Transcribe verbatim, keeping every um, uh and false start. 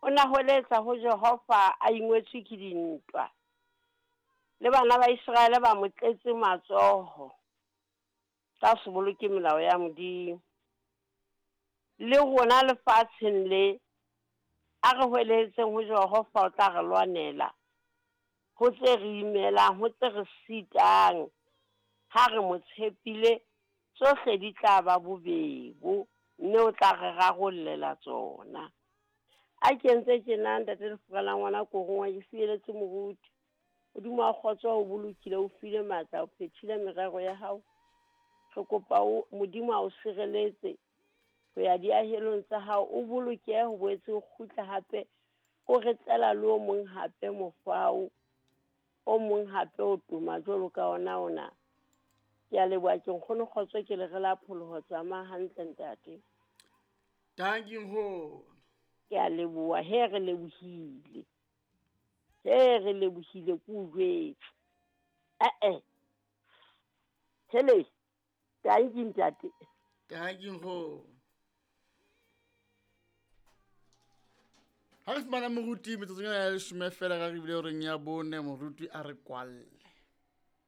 O na hweletsa ho Jehova a ingwetswe ke dintwa. Le bana ba Iseraele ba mo tletse matsoho. Ka se boloke melao ya Modimo. Le rona lefatsheng le a re hweletseng ho Jehova o tla re lwanela. Ho tse re imelang, ho tse re sitang. Ha re mo tshepile, tsohle di tla ba bobebo, mme o tla re rarollela tsona. A kentse tjena ntate Lefura la ngwana korongwa ke fieletse moruti. Modimo wa kgotso o bolokile, o file matla, o phethile merero ya hao. Re kopa o Modimo a o sireletse ho ya diahelong tsa hao, o bolokehe ho boetse o kgutla hape, o re tlela le o mong hape mofao, o mong hape o toma jwalo ka ona ona. Ke a leboha ke nkgono kgotso ke le re la pholoho tsamaya hantle ntate. Thank you nkgono. Ke a leboha, he re lebohile. He re lebohile ke o jwetse. Eh eh. Hele. Thank you ntate. Thank you nkgono. Ha re fumana moruti metsotsong ya leshome fela ka re bile horeng ya bone moruti a re kwalle.